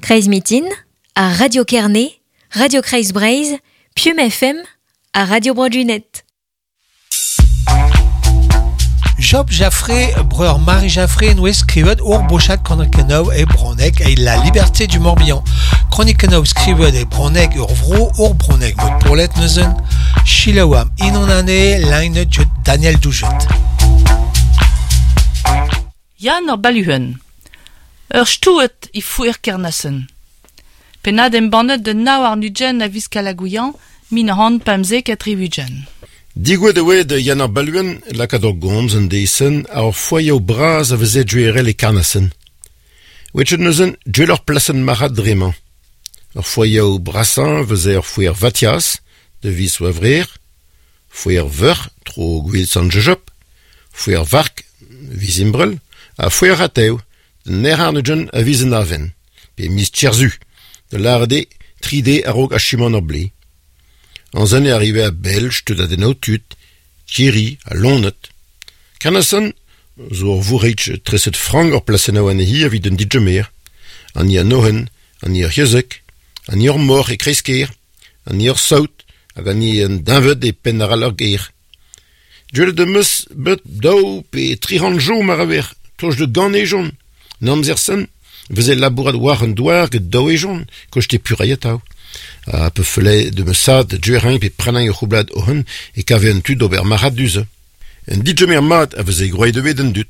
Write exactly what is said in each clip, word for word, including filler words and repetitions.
Kreiz Mitin, a Radio Kerne, Radio Kreiz Breizh, Pum F M, a Radio Brodunet. Job Jaffré, breur Marie Jaffré, nous skrivet ur bochat Chronikenau e Bronek et la liberté du Morbihan. Chronikenau skrivet e Bronek ur vro ur Bronek mot pourlet neuzen. Chilawam inonane line jet Daniel Doujet. Yann ur baluhen. Ur stouet i fouer kernasen. Penad embannet de nao ar nudjen a viz kalagouian, min hand pamzek a trivujen. Digouet oe de Yann ar Baluen lakaat ur gomz an deisen ar foaio braz a veze duerel e karnasen. Wetchet neuzen duel ur plasen marad dremañ. Ur foaio brasan veze ur foer Vatias, de vis oavrer, foer veur, tro gwil san jejop, foer vark, vis imbrel, a foer atev, de ner ar neuzen a vis en aven, pe mis tcherzu, de l'arde tri D a-raok achumant ur ble. An zen e arrive a Belge tud a den tud, Thierry a Lonet. Karnasen zo ur vourreitch treset frank ur plasenau anezhi evit un didjemer, an i an ohen, an i ur hiezek, an i ur mor e kreisker, an i ur saout, hag an i an dinvet e penn ar al ur ger. Duel de meus bet daou pe tri ranjo mar aver, toch de gant ejon. N'amzer sen, veze labourat war an douar get daou ejon, kochte puraietao. A pe fele de me sad duerin pe prenañ ur c'houblad ohen e kave un tud ober marad duze. Un didjemer mat a veze groet de bet an dut.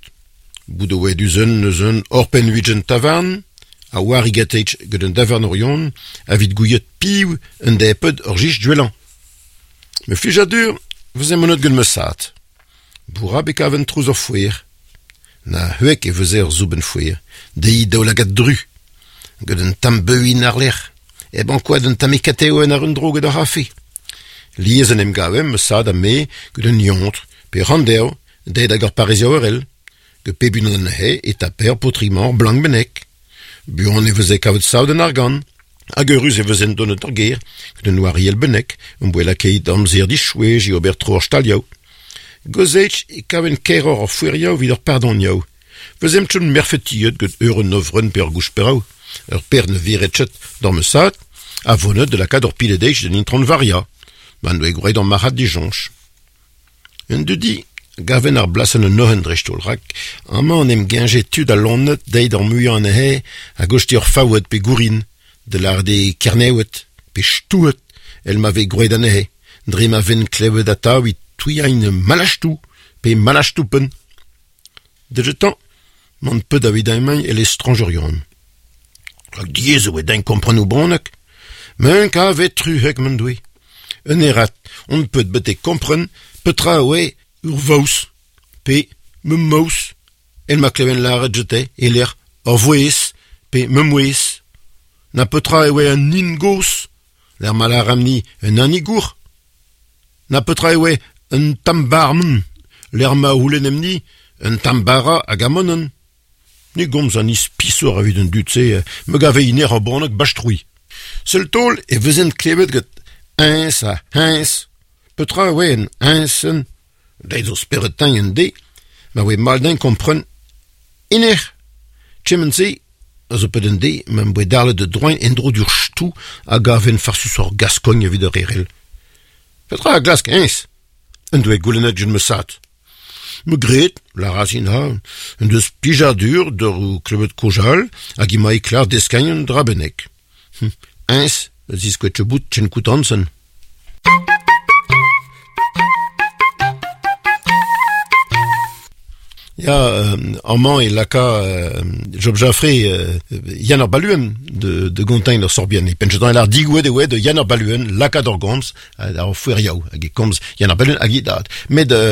Bout oe duzen neuzen orpen huijen tavarn, a war igateit get un davern orion, a vid gouiet piv un deped ur jij duelan. Me flijadur veze monot gant me sad. Bourra be kaven trouz ur fouer. Na huek e veze ur zouben fouer, dei daoulagad dru, gant un tam beuin ar lec'h. E ban koad un tamm ekateo en ar un dro get ar afe. Liez en em gavem, me sad a me, get un yontr, pe randeo, deit hag ar parizio erel, ge pebun an he e taper potrimor blank benek. Buan e veze kavet saout an argan, hag eurus e vezen donet ar ger, get un noariel benek, un boe lakeit amzer di chouej e ober tro ar staliao. Gozeich e kaven keror ar foueriao vid ar pardoniao. Vezem tchon merfetiet get eur un ovren pe ur gouch perao. Ur per ne viretchet d'ar me sad, a vonet de la kad ur piledech den intron varia, man oe groet an marad di jonch. Un dudi, gaven ar blasen un nohen drechtol rak, amañ an em genje tud a lonnet deit ar muiañ an he, a gosti ur faouet pe gourin, de l'ar de kernewet, pe stouet, el ma ve groet an he, dre ma ven klevet atav i touiain malachtou, pe malachtoupen. De jetan, man peud a vid aimañ el estrangerion. Rak diez oe den kompren ou bronek. Men ka ve truhek man doue. Un erat, on peut bete kompren, petra oe ur vaus, pe me maus, el ma kleven laret jete, eler ur voez, pe me mouez. Na petra oe un nin gos, l'er malar amni un anigour. Na petra oe un tambarmen, l'er ma houlen emni un tambara hag amonen. Ne gomz an ispisor evit un dut-se, me gave iner ur bronek bachtroui. Seul tol e vezen klevet get ens a ens, petra oe en ensen, deit zo speretin en de, ma oe mal den kompren iner. Tchemen se, a zo pet en de, ma boe darlet de droin en dro dur chtou a gaven farsus ur Gascogne evit ur erel. Petra a glask ens, en doe goulennet jun me sat. Me gret, la racine ha, un deus pijadur d'ur ou klevet kojal, hag i ma eklar deskañ un drabenek. Hm, ens, ziskouet bout tchen koutansen. Ya, euh, amañ e laka euh, Job Jaffré euh, Yann ar Baluen de, de Gontain d'ar Sorbian. E penchetan el ar digouet e oe de Yann ar Baluen laka d'ar gomz ar foueriaou hag e komz Yann ar Baluen hag e dad. Met euh,